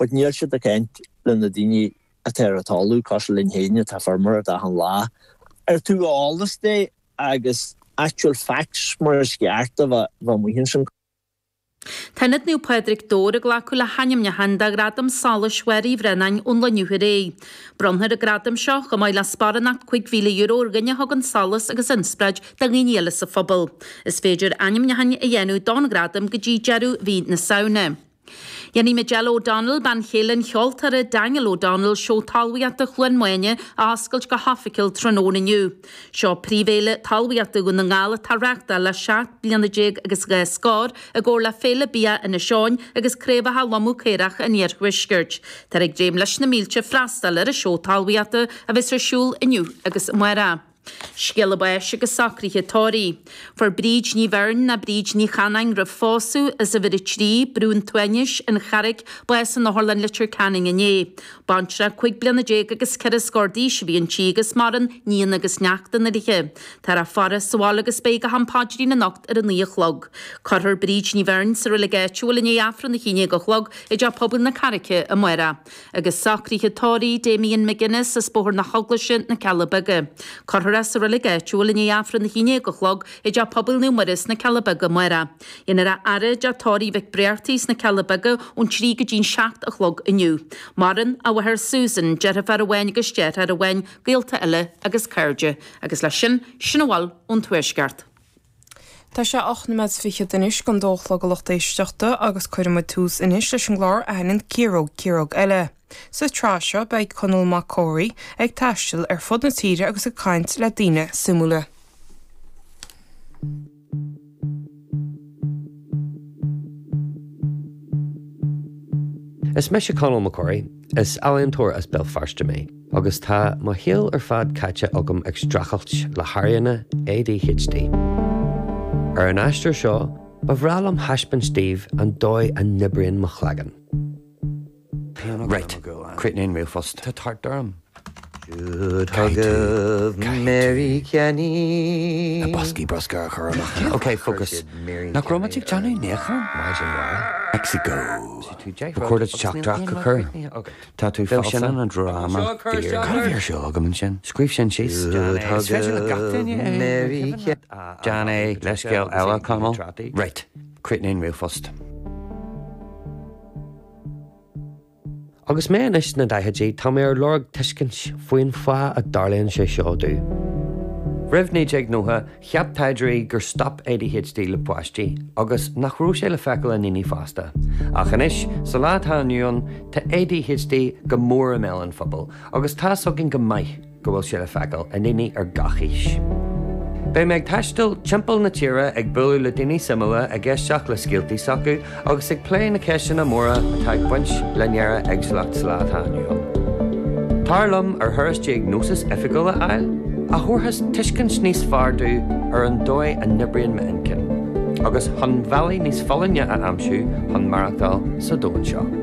But níl siad ag caint le na daoine atá ar an talamh, cosúil linn féin atá ag feirmeoireacht achan lá. Ar taobh eolas de agus actual facts mar is ceart a bheith amuigh ansin. Tá Ionad Naomh Pádraig, Dobhar ag glacadh le hainmneacháin do Ghradam Solais Mháire Uí Bhraonáin ón lá inniu ar aghaidh. Bronnfar an gradam seo, chomh maith le sparánacht €5,000 ar dhuine a thugann solas agus inspioráid do dhaoine eile sa phobal. Is féidir ainmneacháin a dhéanamh don ghradam go dtí deireadh mhí na Samhna. Dhéanfaidh Majella O'Donnell, bean chéile an cheoltóra Daniel O'Donnell, Seó Talmhaíochta Chluain Maine a oscailt go hoifigiúil tráthnóna inniu. Seo príomhfhéile talmhaíochta Dhún na nGall atá á reáchtáil le 17 bliana agus dhá scór, i gcomhar le Féile Bia Inis Eoghain agus Craobhacha Lomadh Caorach an Iarthuaiscirt. Táthar ag dréim leis na mílte freastal ar an seó talmhaíochta a bheas ar siúl inniu agus amárach. Scéala báis agus socruithe tórraimh. Fuair Bríd Ní Bheirn ná Bríd Ní Chanáin roimh phósadh, as uimhir 3, Brú an tSuaimhnis, An Charraig, bás in Otharlann Leitir Ceanainn inné. Baintreach 15 bliana agus ceithre scór d'aois a bhí inti agus maireann nianna agus neachtanna léi. Táthar á faire sa bhaile agus beidh go ham paidrín anocht ar a 9 a chlog. Cuirfear Bríd Ní Bheirn sa reilig áitiúil i ndiaidh Aifreann a 11 a chlog i dTeach Pobail na Carraice amárach. Agus socruithe tórraimh Damien McGuinness as Bóthar na hEaglaise, Na Cealla Beaga. Cuirfear é sa reilig áitiúil i ndiaidh Aifreann a 11 a chlog i dTeach Pobail Naomh Muire sna Cealla Beaga amárach. Dhéanfar a fhaire i dTeach Tórraimh Mhic Bréartaigh sna Cealla Beaga ón 3 go dtí'n 7 a chlog inniu. Maireann a mháthair Susan, deirfiúr amháin agus deartháir amháin, gaolta eile agus cairde. Agus leis sin, sin a bhfuil ón Tuaisceart. Tá sé 8 noiméad fichead anois don dó a chlog a lucht éisteachta agus cuirfidh muid tús anois leis an gclár Aithníonn Ciaróg Ciaróg Eile. Sa tsraith seo beidh Conall Mac Córaí ag taisteal ar fud na tíre agus ag caint le daoine suimiúla. Is mise Conall Mac Córaí. Is ealaíontóir as Béal Feirste mé agus tá mo shaol ar fad caite agam ag streachailt le hairíonna ADHD. Ar an aistear seo, ba bhreá liom thaispeáint daoibh an dóigh a n-oibríonn mo chloigeann. Right, críochnaigh an ríomhphost. Tá tart orm. Caithfidh tú, caithfidh tú na boscaí bruscair a chur amach. Ok, focus. Nach raibh muid ag déanamh níochán? Meicsiceo. Ba chóir duit teachtaireacht a chur. Tá tú falsa. Sin an dráma fíor. Cad a bhí ar siúl agam ansin? Scríobh sin síos. Is féidir le gach duine é. Déan é. Leithscéal eile, Conall. Right, críochnaigh an ríomhphost. Agus mé anois sna daichidí, tá mé ar lorg tuiscint faoin fáth a dtarlaíonn sé seo domh. Roimh 1990, cheap taighdeoirí gur stop ADHD le páistí agus nach raibh sé le feiceáil i ndaoine fásta. Ach anois, sa lá atá inniu ann, tá ADHD go mór i mbéal an phobail agus tá's againn go maith go bhfuil sé le feiceáil i ndaoine ar gach aois. Beidh mé ag taisteal timpeall na tíre ag bualadh le daoine suimiúla, ag éisteacht le scéaltaí s'acu agus ag plé na ceisteanna móra atá ag baint le néara-éagsúlacht sa lá atá inniu ann. Tar liom ar thuras diagnósis oifigiúil a fháil, a thabharfas tuiscint níos fearr domh ar an dóigh a n-oibríonn m'inchinn, agus chun bealaí níos folláine a aimsiú chun maireachtáil sa domhan seo.